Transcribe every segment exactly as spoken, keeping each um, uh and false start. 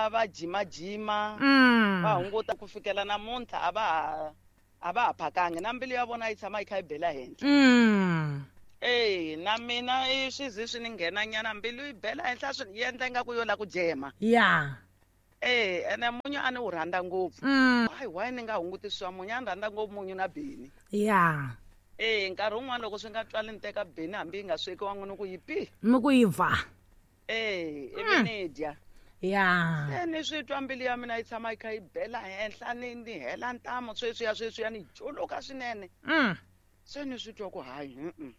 va va jima jima Mm. va hunguta ku fikela namuntlha a va ha a va ha phakangi na mbilu ya vona yi tshama yi kha yi bela henhla Mm. e na mina i swi zi swi ni nghena nyana mbilu yi bela henhla swi yi endla ingaku yo la ku jema Ya. e ene munyu a ni wu rhandza ngopfu Mm. hayi why ni nga hunguti swa munyu a ni rhandza ngopfu munyu na beni Ya. e nkarhi wun'wani loko swi nga twali ni teka beni hambi yi nga swekiwangi ni ku yi pi Mi ku yi va. e ivi ni dya Ya. se ni swi twa mbilu ya mina yi tshama yi kha yi bela henhla ni ni hela ntamu sweswiya sweswiya ni juluka swinene Mm. se ni swi twa ku hayi mm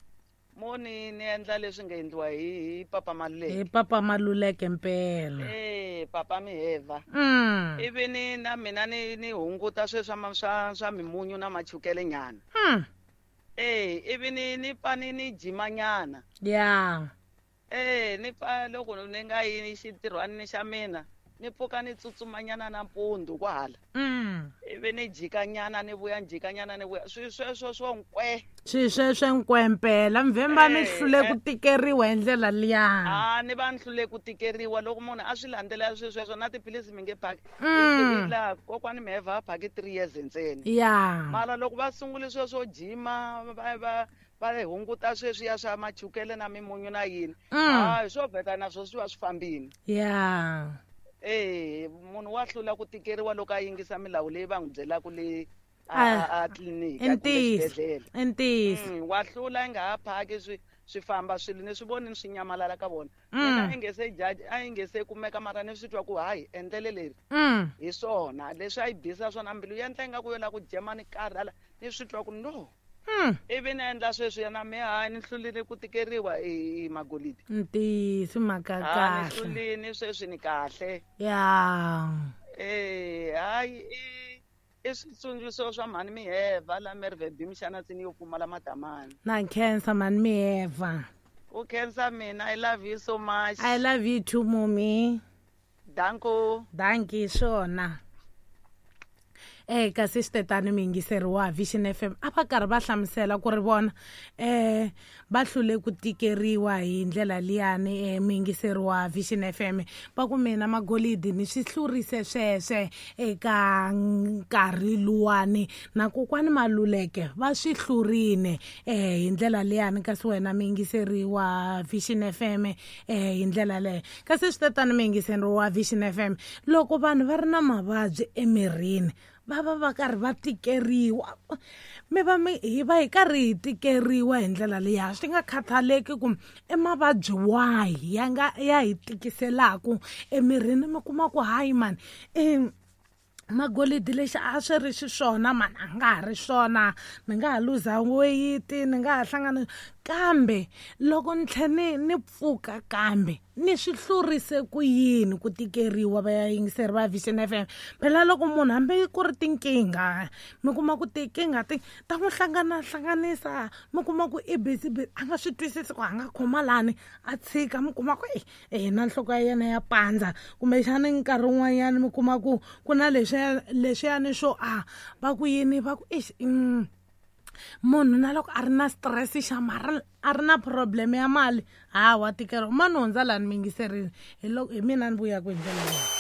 mo ni ni endla leswi nga endliwa hi hi papa Hi Maluleke papa Maluleke mpela. e papa Miheva Mm. ivi ni na mina ni ni hunguta sweswi swa ma- swa swa mimunyu na machukele nyana Mm. e ivi ni ni pfa ni ni jima nyana Ya. e ni pfa loko ni nga yi xintirhwanini xa mina ni pfuka ni tsutsumanyana nampundzu kwahala Mm. ivi ni jika nyana ni vuya ni jika nyana ni vuya swi sweswo swo nkwe Swi sweswe nkwempela mvemba mi Eh, hlule ku eh. tikeriwa hi ndlela liya. a ni va ni hlule ku tikeriwa loko munhu a swi landzelela swi sweswo na tiphilisi mi nge phaki Mm. laha kokwani Miheva a phaki three years ntsena Ya. mara loko va sungule sweswo jima va va va hunguta sweswiya swa machukele na mimunyu na yini Mm. hayi swo vheta na swo swi va swi fambini Ya. e munhu wa hlula ku tikeriwa loko a yingisa milawu leyi va n'wi byelaka le a Ah, a- a tliliniki I kumbe ntiyiso. xibedhlele I ntiyiso. Mm, wa hlula i nga ha phaki swi swi famba swilo ni swi voni swi nyamalala ka vona Mm. mina i nge se judge a yi nge se kumeka mara ni swi twa ku hayi endlele leri Mm. hi swona leswi a yi bisa swona mbilu yi endla ingaku yo la ku jema ni karhala ni swi twa ku no Mm. ivi ni endla sweswiya na me hayi ni hlulile ku tikeriwa hi hi magolidi Ntiyiso mhaka ha ni kahle. hlulini sweswi ni kahle Ya. e hayi i i switsundzuxo swa mhani Miheva la Merve B Mxanatsini yo pfumala madamani Na khensa mhani Miheva. u khensa mina i love you so much I love you too mommy. danko Dankie swona. Eh kasi xitetani muyingiseri wa Vision F M a va karhi va hlamusela ku ri vona eh va hlule ku tikeriwa hi ndlela liyani eh muyingiseri wa Vision F M va ku mina magolidi ni swi hlurise sweswe eka nkarhi luwani na kokwani Maluleke va swi hlurile eh hi ndlela liyani kasi wena muyingiseri wa Vision F M eh hi ndlela leyo kasi switetani muyingiseri wa Vision F M loko vanhu va ri na mavabyi emirini va va va karhi va tikeriwa mi va mi hi va hi karhi hi tikeriwa hi ndlela liya swi nga khathaleki ku i mavabyi wahi ya nga ya hi tikiselaku emirini mi kuma ku hayi mani i magolidi lexi a swi ri xiswona mani a nga ha ri swona ni nga ha luza weyiti ni nga ha hlangana kambe loko ni tlhe ni ni pfuka kambe ni swi hlurise ku yini ku tikeriwa va yingiseri va Vision F M phela loko munhu hambi ku ri tinkingha mi kuma ku tinkingha ti ta n'wi hlangana hlanganisa mi kuma ku i busy busy a nga swi twisisi ku a nga khoma lani a tshika mi kuma ku e na nhloko ya yena ya pandza kumbexani nkarhi wun'wanyani mi kuma ku ku na leswiya leswiyani swo a va ku yini va ku ixi mm, munhu na loko a ri na stress xa mara a ri na problem ya mali ha wa tikeriwa mani hundza lani mi yingiserile hi loko hi mina ni vuyaku hi ndlela leyi.